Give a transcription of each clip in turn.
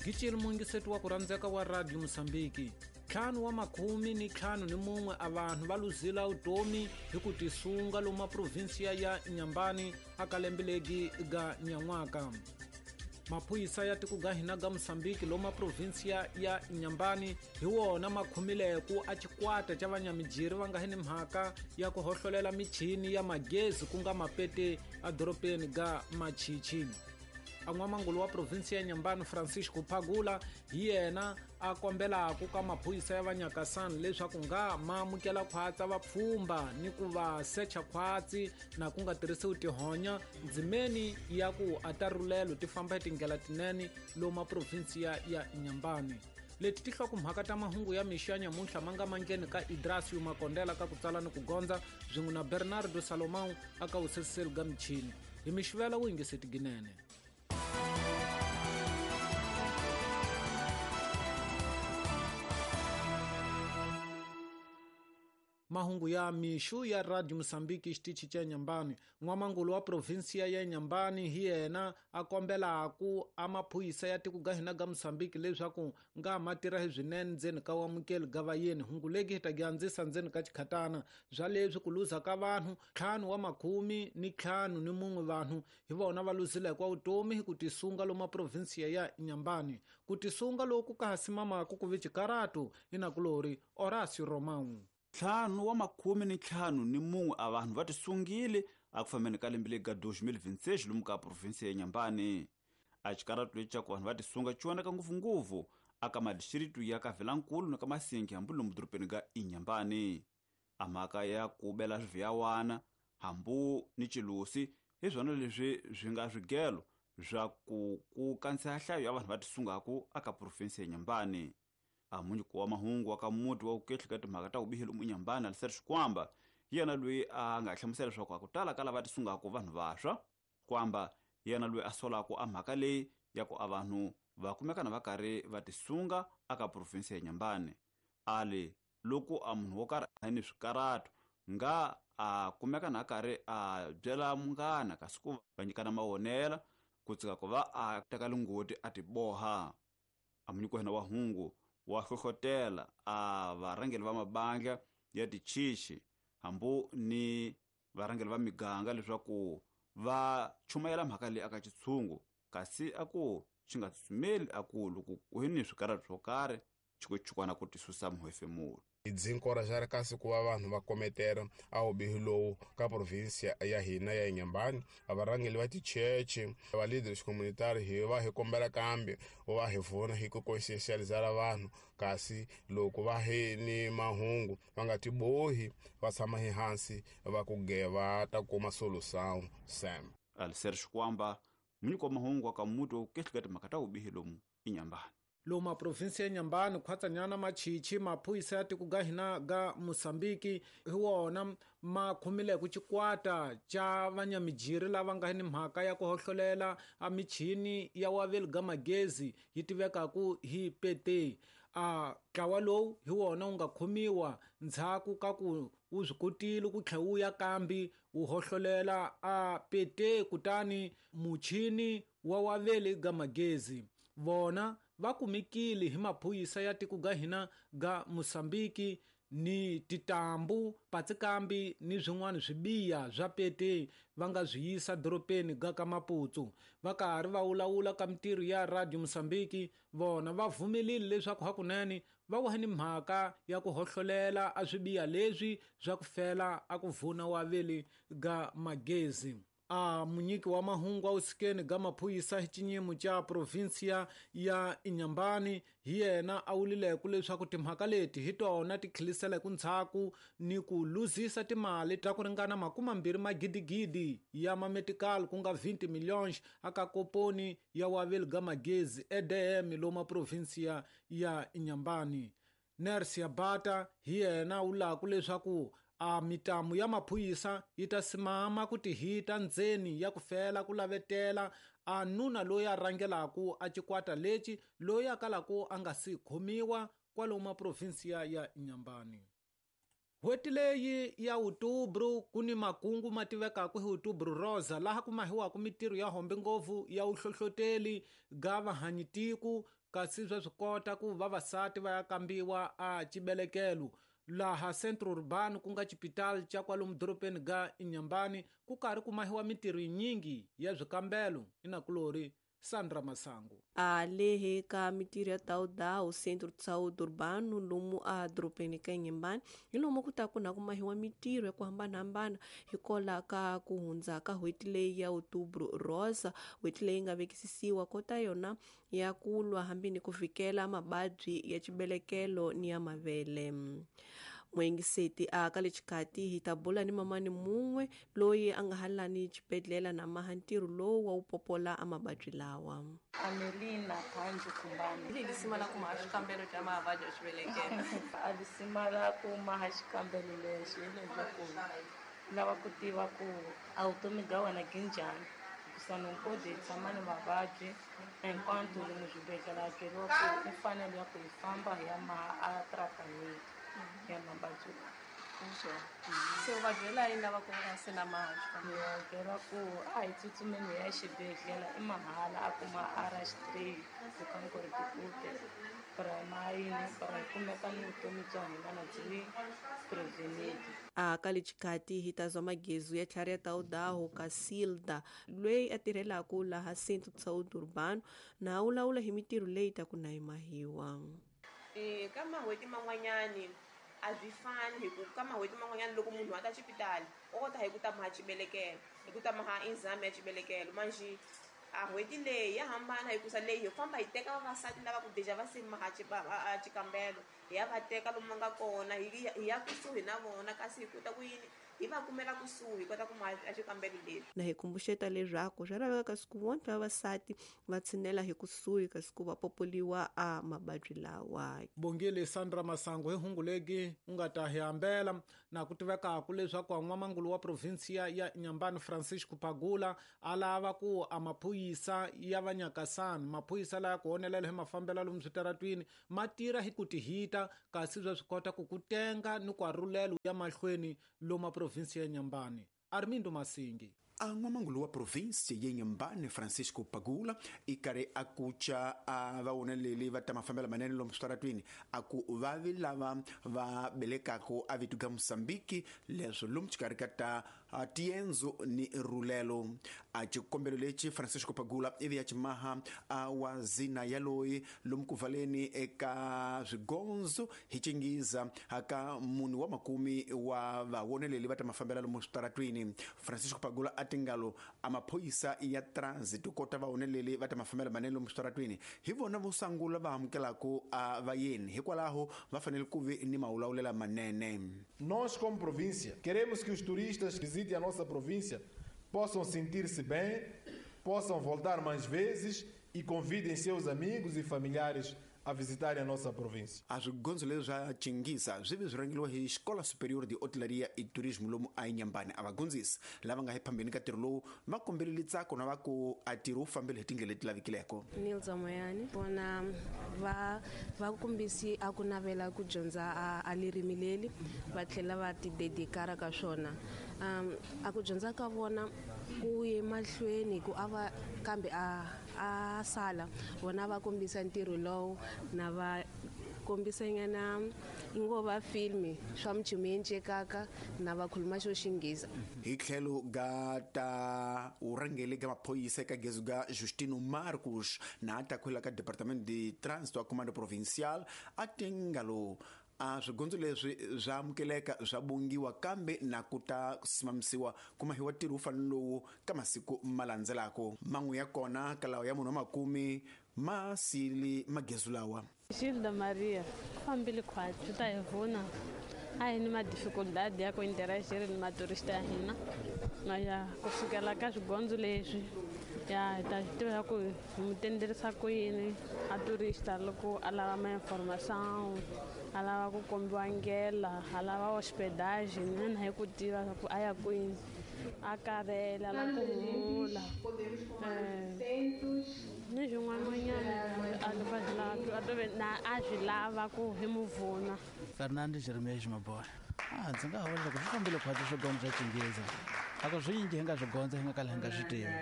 Gicile muyingiseti wa ku rhandzeka wa Radio Mosambiki. 51 a vanhu va luzila vutomi hi ku tisunga lomu maprovinsiya ya Inhambane aka lembe legi ga nyan'waka. Maphorisa ya tiko ga hina ga Mosambiki lomu maprovinsiya ya Inhambane hi wona ma khumileku a xikwata xa vanyamijiri va nga hi ni mhaka ya ku hohlolela michini ya magezi ku nga mapete edorobeni ga Machichi. A n'wamangulu wa provinsi ya Inhambane Francisco Phagula hi yena a kombelaku ka maphorisa ya vanyakasani leswaku nga ma amukela khwatsa vapfhumba ni ku va secha khwatsi na ku nga tirhisiwi tihonya ndzimeni ya ku a ta rulelo ti famba hi tindlela tinene lomu maprovinsi ya Inhambane. Leti ti hlokomhaka ta mahungu ya mixo ya nyamuntlha ma nga mangheni ka Idrasio Makondela ka ku tsala ni ku gondza swin'we na Bernardo Salomão aka vuseseli ga michini. Hi mixivela wu yingiseti ginene. Mahungu ya mixo ya Radio Mosambiki xitichi xa Inhambane. N'wamangulu wa provinsiya ya Inhambane hi yena a kombelaku a maphorisa ya tiko ga hina ga Mosambiki leswaku nga ma tirha hi swinene ndzeni ka wamukeli ga vayeni. Hungu legi hi ta gi andzisa ndzeni ka xikhatana bya leswi ku luza ka vanhu 51 vanhu hi vona va luzileke wa vutomi hi ku tisunga lomu maprovinsiya ya Inhambane. Ku tisunga loku ka ha simamaku ku vi xikaratu hi nakulori Horácio Romão. 51 a vanhu va tisungile a ku fambeni ka lembe leri ga 2026 lomu ka provinsi ya Inhambane. A xikaratu lexi xa ku vanhu va tisunga xi vonaka ngopfungopfu aka madistricto ya ka Vilankulu na ka Masingi hambi lomu dorobeni ga Inhambane. A mhaka ya ku bela swiviyawana hambu ni xilusi hi swona leswi swi nga swigelo swa ku ku kandziha nhlayo ya vanhu va tisungaku aka provinsi ya Inhambane. A munyiki wa mahungu wa ka muti wa vukehli ka timhaka ta vubihi lomu Inhambane Alistair Xikwamba hi yena loyi a nga hlamusela leswaku a ku tala ka lava tisungaku vanhu vantshwa. Xikwamba hi yena loyi a solaku a mhaka leyi ya ku a vanhu va kumekana va karhi va tisunga aka provinsi ya Inhambane. A li loko a munhu wo karhi a ni swikaratu nga a kumeka na karhi a byela munghana kasi ku va nyikana mavonela ku tsika ku va a teka lingoti a tiboha. A munyiki wa hina wa hungu wa hlohlotela a varhangeri va mabandla ya tichichi hambu ni varhangeri va miganga leswaku va chumayela mhaka leyi aka xitshungu kasi a ku xi nga tsutsumeli a ku loko ku ni swikaratu swo karhi xikuchukwana ku tisusa muhefemulo. Hi byi nkoraxara kasi ku va vanhu va kometela a vubihi lowu ka provinsi ya hina ya Inhambane. A varhangeri va ticheche, va leaders communitary hi va hi kombela kambe va hi pfuna hi ku conscientizela vanhu kasi loko va hi ni mahungu va nga tibohi va tshama hi hansi va ku ge va ta kuma solution sam. Alistair Xikwamba, munyiki wa mahungu wa ka muti wa vukehli ka timhaka ta vubihi lomu Inhambane. Lomu maprovinsi ya Inhambane khwatsanyana Machichi maphorisa ya tiko ga hina ga Mosambiki hi wona ma khomileke xikwata xa vanyamijiri lava nga ni mhaka ya ku hohlolela a michini ya waveli ga magezi yi tivekaku hi pete. A ntlawa lowu hi wona wu nga khomiwa ndzhaku ka ku wu swi kotile ku tlhela wu ya kambi wu hohlolela a pete kutani muchini wa waveli ga magezi. Vona va kumekile hi maphorisa ya tiko ga hina ga Mosambiki ni titambu patsikambi ni swin'wana swibiya swa pete va nga swi yisa dorobeni ga ka Maputo. Va karhi va vulavula ka mintirho ya Radio Mosambiki vona va vumelile leswaku hakunene va wa ni mhaka ya ku hohlolela a swibiya leswi swa ku fela a ku vuna waveli ga magezi. A munyiki wa mahungu a wusikeni ga maphorisa hi xinyimo xa provinsiya ya Inhambane hi yena a wulileke leswaku timhaka leti hi tona ti khiliselaku ndzhaku ni ku luzisa timali ta ku ringana 20 magidigidi ya mametical ku nga 20 millions aka koponi ya waveli ga magezi EDM lomu provinsiya ya Inhambane. Nersia Bata hi yena wulaku leswaku a mitamu ya maphorisa yi ta simama ku tihita ndzeni ya ku fela ku lavetela a nuna loyi a rhangelaku a xikwata lexi loyi a kalaku a nga si khomiwa kwalomu provinsiya ya Inhambane. N'hweti leyi ya Outubro ku ni makungu ma tivekaka hi Outubro Rosa laha ku mahiwaka mintirho ya hombe ngopfu ya vuhlohloteli ga vahanyitiko Kasi swa swi kota ku vavasati va ya kambiwa a xibelekelo laha Centro Urbano, ku nga xipitali xa kwalomu dorobeni ga Inhambane, ku karhi ku mahiwa mintirho yinyingi ya swikambelo. Inakulori Sandra Masango. A lehe ka mintirho ya Taudao Centro de Saúde Urbano lomu a dorobeni ka Inhambane hi lomu ku ta ku na ku mahiwa mintirho ya ku hambanahambana hikola ka ku hundza ka n'hweti leyi ya Outubro Rosa, n'hweti leyi nga vekisisiwa kota yona ya ku lwa hambi ni ku vhikela mavabyi ya xibelekelo ni ya mavele. Muengiseti a ka le xikati hi ta bula ni mamani mun'we loyi a nga halani xibedhlele na maha ntirho lowu wa wu popola a mavabyi lawa. Amelina Panju Kumbani. Lisima la ku maha xikambelo xa mavabyi ya xibelekelo. A lisima la ku maha xikambelo lexi hi leswaku lava ku tiva ku a vutomi bya wena byi njhani, hikusa nokodi hi tshama ni mavabyi hinkwato lomu swibedhlele a byeriwa ku i fanele ya ku hi famba hi ya maha a tratamento ya mavabyi lawa. Se u va byela yini lava ku nga se na maha xikambelo? Ni va byela ku a hi tsutsumeni hi ya xibedhlele, i mahala a kuma RH3 ku tikute para para hi kumeka ni vutomi bya hina na byi prevented. A ka le xikati hi ta zwa magezu ya tlhari ya Taudaho ka Silda loyi a tirhelaku laha Centro de Saúde Urbano na wulawula hi mintirho leyi ta ku na yi mahiwa. Ka mahweti man'wanyani a swi fani, hi ku ka mahweti man'wanyani loko munhu a ta xipitali o kota hi ku ta maha xibelekelo, hi ku ta maha exam ya xibelekelo. Manjhe a n'hweti leyi ya hambana, hikusa leyi hi famba hi teka vavasati lava ku deja va se maha xikambelo, hi ya va teka lomu va nga kona, hi ya kusuhi na vona, kasi hi kota ku yini hi va kumela kusuhi, hi kota ku maha xikambelo lexi. Na hi kumbuxeta leswaku swa laveka kasi ku vona vavasati va tshinela hi kusuhi kasi ku va popoliwa a mavabyi lawa. Bongile Sandra Masango hi hungu legi u nga ta hi hambela na ku tivekaku leswaku n'wamangulu wa provinsia ya Inhambane Francisco Pagula a lava ku a maphorisa ya vanyakasani, maphorisa laya ku honelela hi mafambelo lomu switaratwini ma tirha hi ku tihita, kasi swa swi kota ku ku tenga ni ku arhulelo ya mahlweni lomu provinsi ya Inhambane. Armindo Masingi. A n'wamangulu wa provinsi ya Inhambane Francisco Pagula i karhi a kuca a vawoneleli va ta mafambelo manene lomu switaratwini, a ku vavi lava va belekaka a vito ga Mosambiki leswo lomu xikarhi ka ta tiendzo ni rulelo. A xikombelo lexi Francisco Pagula ivi ya ximaha a wa zina yaloyi lomu ku valeni eka swigondzo hi xingiza ka munhu wa makumi wa vawoneleli va ta mafambelo lomu switaratwini. Francisco Pagula a tingalo a maphorisa ya transit kota vawoneleli va ta mafambelo manene lomu switaratwini hi vona vo sungula va amukelaku a vayeni, hikwalaho va fanele ku vi ni mawulawulela manene. Nós, como província, queremos que os turistas que visitem a nossa província possam sentir-se bem, possam voltar mais vezes e convidem seus amigos e familiares a visitarem a nossa província. A swigondzo leswi swa Chingisa swi vi swi rhangeriwa hi Xikola Superior de Hotelaria e Turismo lomu a Inhambane. A vagondzisi lava nga hi phambeni ka ntirho lowu va kombelele ntsako na va ku a ntirho wu fambile hi tindlela leti lavekileko. Nilza Moyani vona va kombisi a ku navela ku dyondza a lirimi leri va tlhela va ti dedikara ka swona. A ku dyondza ka vona ku ye mahlweni ku ava kambe a sala vona va kombisa ntirho lowu na va kombisa nyana ngo va filmi swa mchumenje kaka na va khuluma xo xinghisa. Hi tlhelo ga ta urhangeli ga maphorisa ka gezu ga Justino Marcos na ta khwela ka Departamento de Trânsito a Comando Provincial a tingalo a swigondzo leswi swa amukeleka swa bongiwa kambe na ku ta simamisiwa kuma hi wa ntirho wu fanele lowu ka masiku ma landzelaka. Man'we ya kona ka lawa ya munhu wa makumi ma sili magezu lawa. Gilda Maria, fambile khwatsi ta hi vona a hi ni ma-dificuldade ya ku interagir ni maturista ya hina ya ku sukela ka swigondzo leswi ya hi ta swi tiva ku hi mu tenderisa ku yini a turista loko a lava ma-information, a lava ku kombiwa ndlela, a lava hospedage, mina hi ku tiva ku a ya kwini, a karhele a lava ku humula ni swin'wananyana a swi lava ku hi mu vuna. Fernando Jeremias Maboya. Ndzi nga vula loko swi fambile khwatsi swigondzo swa Xinghezi a ku swi yingi hi nga swi gondza hi nga kala hi nga swi tivi.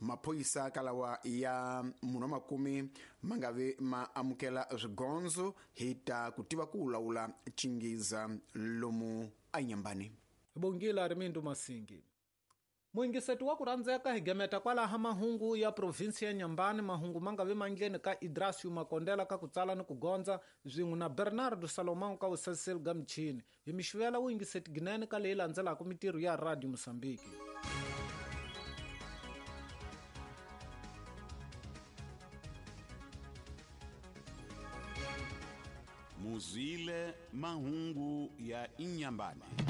Maphorisa kalawa ya munhu wa makume ma nga vi ma amukela swigondzo hi ta ku tiva ku lawula chingiza lomu eNyambani. Bongile Armindo Masingi. Muyingiseti wa ku rhandzeka hi gemeta kwalaha mahungu ya provinsi ya Nyambani, mahungu ma nga vi mandleni ka Idrasio Makondela ka ku tsala ni ku gondza swin'we na Bernardo Salomão ka vusaseli ga michini. Hi mixivela vuyingiseti ginene ka leyi landzelaka mitirho ya Radio Mosambiki. Muzwile mahungu ya Inyambani.